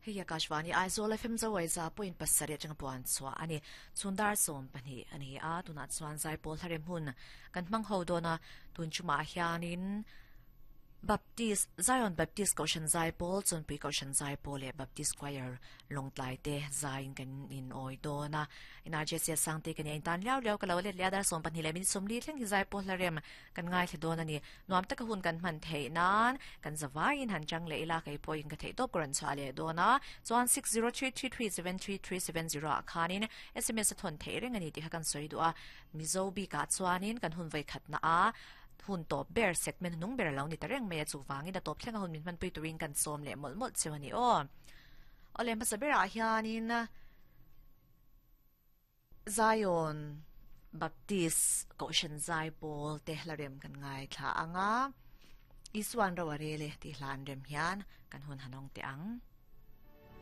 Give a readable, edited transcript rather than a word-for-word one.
Hei Akashvani Aizawl FM Zawaiza point pasarih atanga puan chhuah a ni. Chhun dar 12 a ni a, tunah chuan Zaipawl Hlarem hun kan hmang ho dawn a, tun chumah hianin Baptist, Zion Baptist Kohhran Zaipawl, Chawnpui Kohhran Zaipawl leh Baptist Choir Lawngtlai te zaiin kan inawi dawn a. NRJC Sangte ka nia intan liau liau ka lo let leh a, dar 12 leh minute 40 thleng hi Zaipawl Hlarem kan ngaithla dawn a ni. Nuam taka hun kan hman theih nan kan zavaiin han chang leh ila kei pawhin ka theih tawp ka rawn chhuah leh dawn a. Chuan 6033373370 ah khanin sms a thawn theih reng a ni tih kha kan sawi duh a. Mizo bikah chuanin kan hun vawikhatna a hun tawp ber segment hnung ber a lo ni ta reng mai a, chuvangin a tawp thleng a hun min hmanpui turin kan sawm leh mawlh mawlh cheu a ni aw. Awle hmasa berah hianin Zion Baptist Kohhran Zaipawl te hla rem kan ngaithla ang a, Isuan ro a rel e tih hla an rem hian kan hun han awng teh ang.